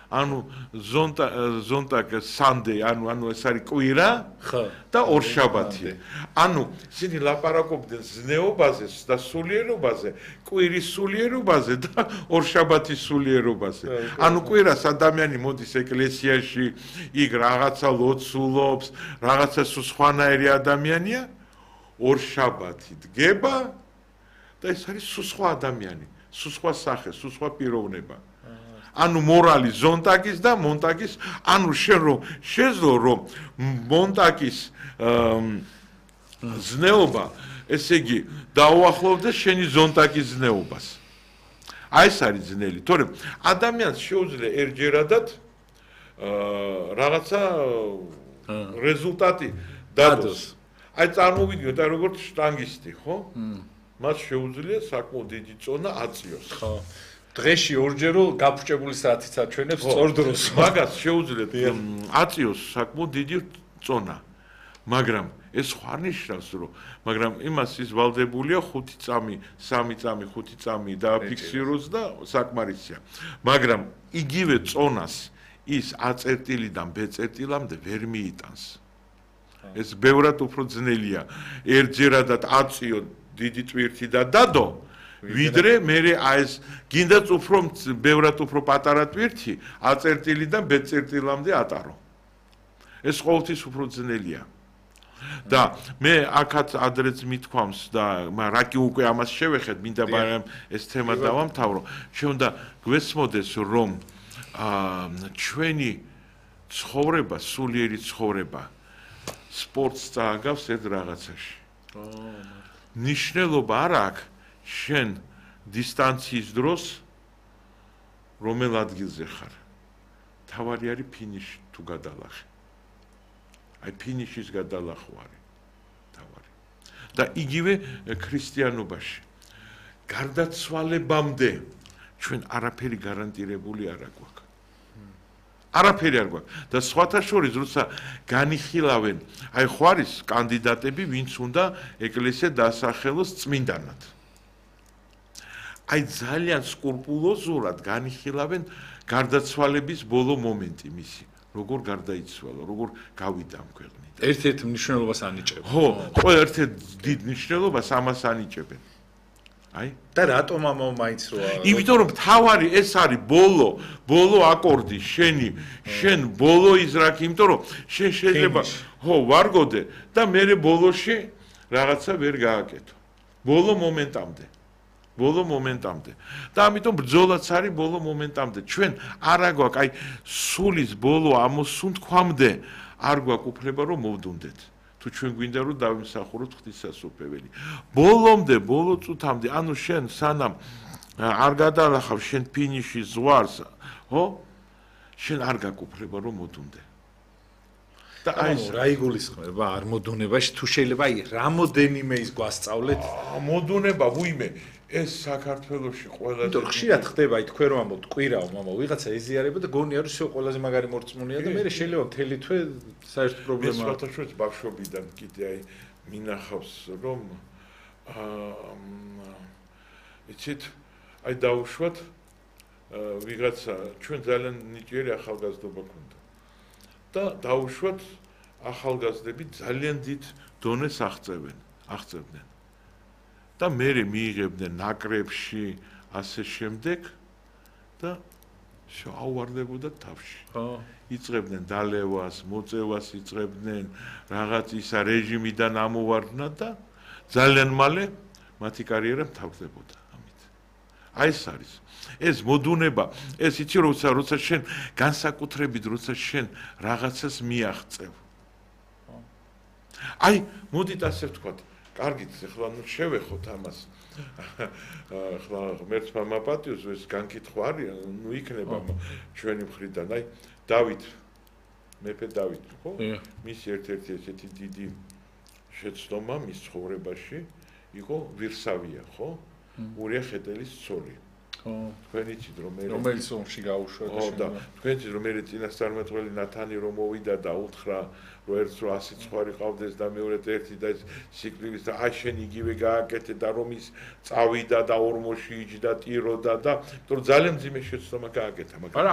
ანუ ზონტაკ სანდე, ანუ ეს არის კვირა და ორშაბათი. ანუ ისინი ლაპარაკობდნენ ზნეობაზე და სულიერობაზე, კვირის სულიერობაზე და ორშაბათის სულიერობაზე. ანუ კვირას ადამიანი მოდის ეკლესიაში, იქ რაღაცა ლოცულობს, რაღაცა სხვანაირი ადამიანია, ორშაბათი დგება და ეს არის სხვა ადამიანი, სხვა სახე, სხვა პიროვნება. ანუ მორალი ზონტაკის და მონტაკის, ანუ შენ რომ შეძლო რომ მონტაკის ზნეობა, ესე იგი დაუახლოვდეს შენი ზონტაკის ზნეობას. აი ეს არის ძნელი, თორემ ადამიანს შეუძლია ერჯერადად რაღაცა რეზულტატი დადოს. აი წარმოვიდგინოთ, აი როგორც შტანგისტი, ხო? მას შეუძლია საკმაოდ დიდი წონა აწიოს. ხო. დღეში ორჯერო გაფუჭებული საათიც აჩვენებს სწორ დროს. მაგას შეუძლიათ აწიოს საკმაოდ დიდი წონა. მაგრამ ეს ხარ ნიშნავს, რომ მაგრამ იმას ის ვალდებულია 5 წამი, 3 წამი, 5 წამი დააფიქსიროს და საკმარისია. მაგრამ იგივე წონას ის A-წერტილიდან B-წერტილამდე ვერ მიიტანს. ეს ბევრად უფრო ძნელია. ერთჯერადად აწიო დიდი ტვირთი და დადო, ვიდრე მე ეს გინდაც უფრო ბევრად უფრო პატარა ტვირთი A-წერტილიდან B-წერტილამდე ატარო. ეს ყოველთვის უფრო ძნელია. და მე აქაც ადრეც მithქვამს და რაკი უკვე ამას შევეხეთ, მინდა მაგრამ ეს თემა დავამთავრო. შეუნდა გვესმოდეს რომ ჩვენი ცხოვრება, სულიერი ცხოვრება სპორტს წააგავს ერთ რაღაცაში. ნიშნულობა არ აქვს შენ დისტანციის დროს რომელ ადგილზე ხარ. თავარი არის ფინიში თუ გადალახე. აი ფინიშის გადალახვა არის თავარი. და იგივე ქრისტიანობაში. გარდაცვალებამდე ჩვენ არაფერი გარანტირებული არ აქვს. არაფერი არ გვაქვს. და სხვათა შორის, როცა განიხილავენ, აი ხო არის კანდიდატები, ვინც უნდა ეკლესია დასახელოს წმინდანად. აი ძალიან სკრუპულოზურად განიხილავენ გარდაცვალების ბოლო მომენტი მისი. როგორ გარდაიცვალა, როგორ გავიდა ამ ქვეყნიდან. ერთ-ერთ მნიშვნელობას ანიჭებენ. ხო, ყველა ერთ-ერთ დიდ მნიშვნელობას ამას ანიჭებენ. აი და რატომ ამო მაინც როა? იმიტომ რომ თავარი ეს არის ბოლო აკორდი შენ ბოლო იზრაკი, იმიტომ რომ შენ შეიძლება ხო ვარგოდე და მე ბოლოში რაღაცა ვერ გააკეთო. ბოლო მომენტამდე. და ამიტომ ბრძოლაც არის ბოლო მომენტამდე. ჩვენ არა გვაქვს აი სულის ბოლო ამოსუნთქვამდე არ გვაქვს უფლება რომ მოვდუნდეთ. თუ ჩვენ გვინდა რომ დავიმსახუროთ ღვთისმსახურებელი. ბოლომდე, ბოლო წუთამდე, ანუ შენ სანამ არ გადალახავ შენ ფინიში ზღვარს, ხო? შენ არ გაქვს უფლება რომ მოდუნდე. და აი ეს რა იგულისხმება არ მოდუნებაში თუ შეიძლება აი რამოდენიმე ის გვასწავლეთ? მოდუნება ვუიმე ეს საქართველოში ყველაზე იმიტომ ხშირად ხდება აი თქვენ რომ ამბობთ კვირაო მამა ვიღაცა ეზიარება და გონია რომ ისე ყველაზე მაგარი მორწმუნეა და მე შეიძლება მთელი თვე საერთოდ პრობლემა აქვს. ეს სხვადასხვა ბავშვობიდან კიდე აი მინახავს რომ იცით აი დაუშვათ ვიღაცა ჩვენ ძალიან ნიჭიერი ახალგაზრდობა ქონდა და დაუშვათ ახალგაზრდები ძალიან დიდ დონეს აღწევდნენ. და მე მიიღებდნენ ნაკრებში ასე შემდეგ და შეავარდებოდა თავში. იწყებდნენ დალევას, მოწევას იწყებდნენ, რაღაც ისა რეჟიმიდან ამოვარდნათ და ძალიან მალე მათი კარიერა მთავრდებოდა ამით. აი ეს არის. ეს მოდუნება, ეს იცი როცა შენ განსაკუთრებით როცა შენ რაღაცას მიაღწევ. აი, მოდით ასე ვთქვათ, კარგით, ახლა ნუ შევეხოთ ამას. ახლა ღმერთმა მაპატიოს, ეს განკითხვა არის, ნუ იქნება ჩვენი მხრიდან. აი, დავით, მეფე დავით, ხო? მის ერთ-ერთი ესეთი დიდი შეცდომა მის ცხოვრებაში იყო ვირსავია, ხო? ურია ხეტელის ცოლი. თქვენ იცით რომ მე რომელიც ომში გაუშვა და თქვენ იცით რომ მე წინასწარმეტყველი ნათანი რომ მოვიდა და უთხრა რომ ერთს რო 100 ცხვარი ყავდეს და მეორედ ერთი და სიკვდილის და აი შენ იგივე გააკეთე და რომ ის წავიდა და ორმოში იჯდა ტიროდა და იმიტომ რომ ძალიან ძიმე შეცდომა გააკეთა მაგრამ